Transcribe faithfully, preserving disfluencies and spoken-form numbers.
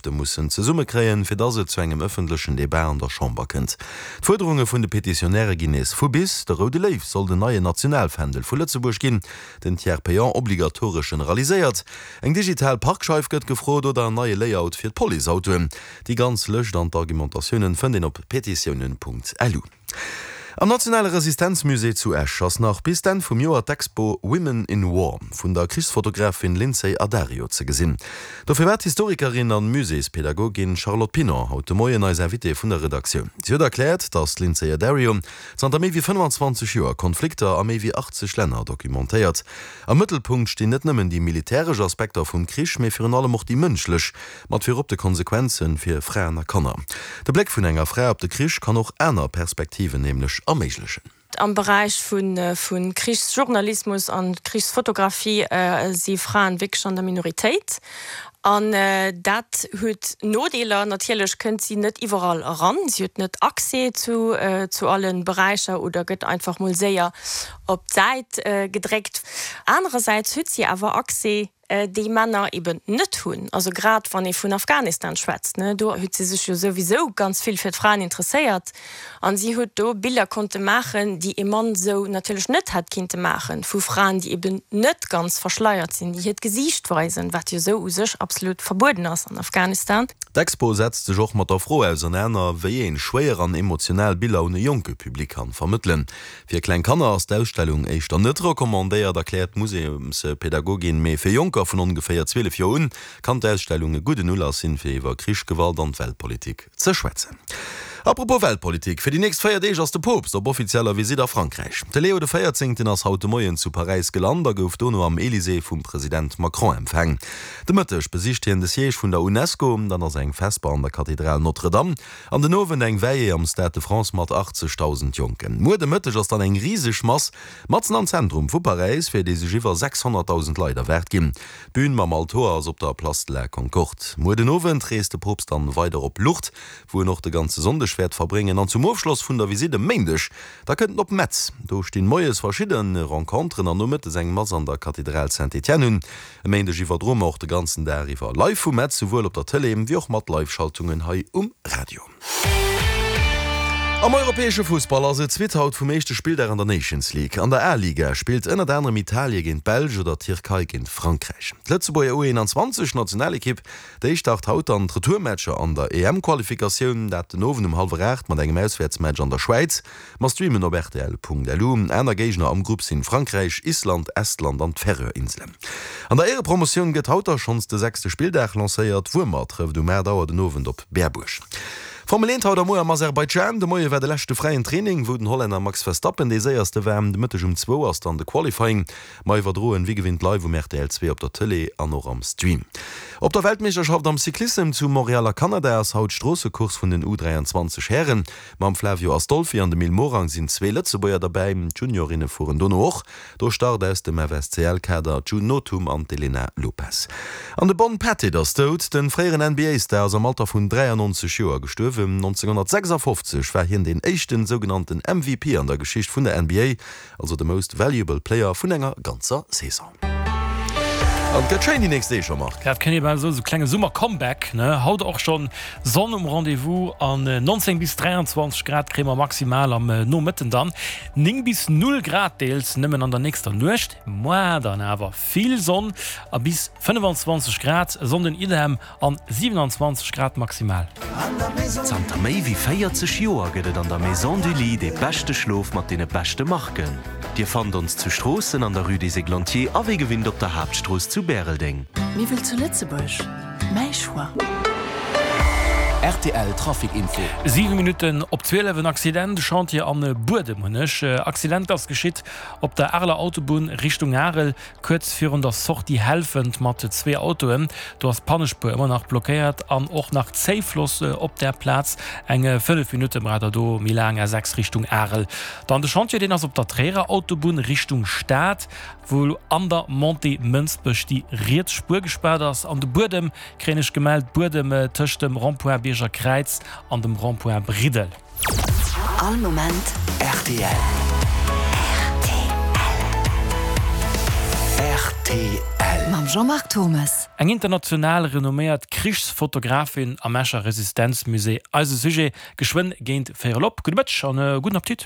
Ënnerschrëfte mussen zesummekréien, fir dass et zu engem ëffentlechen Debat an der Chamber kënnt. D'Fuerderunge vun de Petitionäre ginn nees vu bis, De Roude Léiw soll den neien Nationalfändel vu Lëtzebuerg ginn, den Tiers payant obligatoresch generaliséiert, eng digital Parkscheif gëtt gefrot oder en neie Layout fir d'Policeautoen. Déi ganz Lëscht an d'Argumentatiounen fënnt een op petitiounen.lu. Am Nationale Resistenzmusée zu Esch ass nach bis d'Enn vum Joer d'Expo Women in War vun der Krichsfotografin Lynsey Addario ze gesinn. Dofir war d'Historikerin an Muséespädagogin Charlotte Pinon haut de Moien eis Invitée vun der Redaktioun. Si huet erkläert, datt d'Lynsey Addario zanter méi wéi fënnfanzwanzeg Joer Konflikter a méi wéi achtzeg Länner dokumentéiert. Am Mëttelpunkt stinn net nëmmen déi militäresch Aspekter vum Krich, mee virun allem och déi mënschlech, mat virop de Konsequenze fir Fraen a Kanner. De Bléck vun enger Fra op de Krich kann och aner Perspektiven nämlech erméiglechen. Am Beräich vu Krichsjournalismus an Krichsfotografie si Fraen wierklech an der Minoritéit. An dat huet Nodeeler. Natierlech kënnt si net iwwerall eran, si huet net Accès zu zu alle Beräicher oder gëtt einfach mol séier op d'Säit gedréckt. Anerersäits huet si awer Accès déi Männer eben net hunn. Also grad wann ee vun Afghanistan schwätzt, ne, do huet si sech jo souwisou ganz vill fir d'Fraen interesséiert an si huet do Biller konnte maachen, déi ee Mann sou natierlech net hätt kinnte maachen, vu Fraen, déi eben net ganz verschleiert sinn, déi hiert Gesiicht weisen, wat jo sou u sech absolut verbueden ass an Afghanistan. D'Expo setzt sech och mat der Fro ausernaner, wéi een schwéier an emotional Biller un e jonke Public kann vermëttelen. Fir kleng Kanner ass d'Ausstellung éischter net recommandéiert, erkläert d'Museumspädagogin, mee fir Jonker vun ongeféier zwielef Joer un kann d'Ausstellung e gudden Ulass sinn, fir iwwer Krich, Gewalt an d'Weltpolitik ze schwätzen. Apropos Weltpolitik, Fir déi nächst véier Deeg ass de Poopst op offizieller Visitt a Frankräich. De Leo de Véierzéngten ass haut de Moien zu Paräis gelant a gouf dono am Elysée vum President Macron empfaang. De Mëtteg besicht hien de Siège vun der Unesco, dann ass eng Vesper an der Kathedral Notre-Dame an den Owend eng Veillée am Stade de France mat achtzegdausend Jonken. Muer de Mëtteg ass dann eng riseg Mass matzen am Zentrum vu Paräis, fir déi sech iwwer sechshonnertdausend Leit erwaart ginn. D'Bün mam Altoer ass op der Place de la Concorde. Muer den Owend reest de Poopst dann weider op Lourdes, wou en och de ganze Sonndeg wäert verbréngen. An zum Ofschloss vun der Visitt e Méindeg, da kënnt en op Metz. Do stinn moies verschidde Renconteren an nomëttes eng Mass an der Kathedral Saint-Étienne un. E Méindeg iwwerdroe mer och de ganzen Dag iwwer live vu Metz, souwuel op der Tëlee wéi och mat Live-Schaltungen hei um Radio. Am europäesche Fussball ass et d'Suite haut vum éischte Spilldag an der Nations League. An der A-Liga spillt ënnert anerem Italie géint d'Belsch oder d'Tierkei géint Frankräich. D'Lëtzebuerger U einundzwanzeg Nationalekipp, déi start haut dann d'Retourmatcher an der E M-Qualifikatioun, dat den Owend um hallwer aacht mat engem Auswäertsmatch an der Schwäiz. Mer streamen op rtl Punkt L U. Aner Géigner am Grupp sinn Frankräich, Island, Estland an d'Färöer-Inselen. An der Éierepromotioun gëtt haut da schonns de sechste Spilldag lancéiert. Wuermer trëfft um aacht Auer den Owend op Berbuerg. Formel eent haut a muer am Aserbaidschan. De Moie war de leschte fräien Training, wou den Hollänner Max Verstappen dee séierste war. De Mëtteg um zwou ass dann de Qualifying. Mer iwwerdroen wéi gewinnt live um R T L zwee op der Tëlee an och am Stream. Op der Weltmeeschterschaft am Cyclissem zu Montréal a Kanada ass haut d'Stroossecourse vun den U dräianzwanzeg Hären. Mam Flavio Astolfi an dem Mil Morang sinn zwee Lëtzebuerger derbäi. D'Juniorinne fueren dono och. Do start aus dem F S C L-Kader d'June Nothum an d'Elena Lopes. An de Bon Pettit ass dout. De fréieren N B A-Star ass am Alter vun dräiannonzeg Joer gestuerwen. nonzénghonnertsechsafofzeg war hien deen éischten sougenannten M V P an der Geschicht vun der N B A, also de Most Valuable Player vun enger ganzer Saison. An et gëtt schéin déi nächst Deeg, Jean-Marc. Ja, et kënnt eben esou, esou klenge Summer-Comeback, ne? Haut och schonn Sonn um Rendez-vous an neunzéng bis dräianzwanzeg Grad kréie mer maximal am Nomëtten dann. Néng bis null Grad deels nëmmen an der nächster Nuecht, moar dann awer vill Sonn a bis fënnefanzwanzeg Grad, e Sonnden idem an siewenanzwanzeg Grad maximal. Zanter méi wéi véierzeg Joer gëtt et an der Maison du Lit dee beschte Schlof mat deene beschte Marken. Dir fannt ons zu Stroossen an der Rue des Églantiers a wéi gewinnt op der Haaptstrooss zu Bäreldeng. Miwwel zu Lëtzebuerg, mäi Choix. R T L Trafic Info. Siwe Minutten op zwielef, en Accident, Chantier an Buedem hunn ech. Accident ass geschitt op der Areler Autobunn Richtung Arel, kuerz virun der Sortie Helfent mat zwee Autoen. Do ass d'Pannespuer ëmmer nach blockéiert an och nach Zéifloss op där Plaz. Eng fënnef Minutte braucht der do méi laang, A sechs Richtung Arel. Dann de Chantier, deen ass op der Tréierer Autobunn Richtung Stad, wou an der Montée Mënsbech déi riets Spuer gespaart ass. An de Buedem kréien ech gemellt, Buedem tëscht dem Rond-point Bierger Kräiz an dem Rond-point Briddel. All Moment R T L. R T L. Mam Jean-Marc Thommes. Eng international renomméiert Krichsfotografin am Escher Resistenzmusée. Eise Sujet geschwënn géint véierel op. Gudde Mëtteg an gudden Appetit.